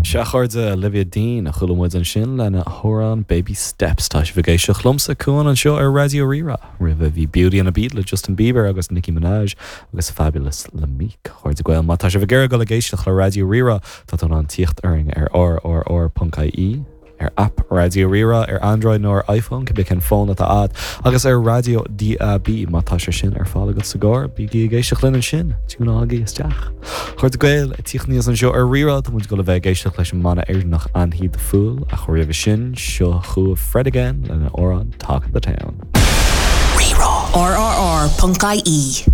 Sea, a chairde, Olivia Dean a chuala muid ansin lena hamhrán Baby Steps. Tá sibh ag éisteacht liomsa, Cuan, anseo ar Raidió Rí-Rá. Roimhe bhí Beauty and a Beat le Justin Bieber agus Nicki Minaj agus Fabulous le Meek. A chairde Gael, má tá sibh ag iarraidh dul ag éisteacht le Raidió Rí-Rá, tá tú in ann tíocht orainn ar rrr.ie, ar aip Raidió Rí-Rá ar Android nó ar iPhone, cibé cén fón atá agat, agus ar raidió DAB má tá sé sin ar fáil agat sa gcarr. Bígí ag éisteacht linn ansin, tiúnáigí isteach. A chairde Gael, ag tíocht aníos anseo ar Rí-Rá, tá muid ag dul a bheith ag éisteacht leis an mbanna Éireannach Annie the Fool, ach roimhe sin, seo chugaibh Fred Again lena amhrán Talk of the Town. Rí-Rá. RRR.ie.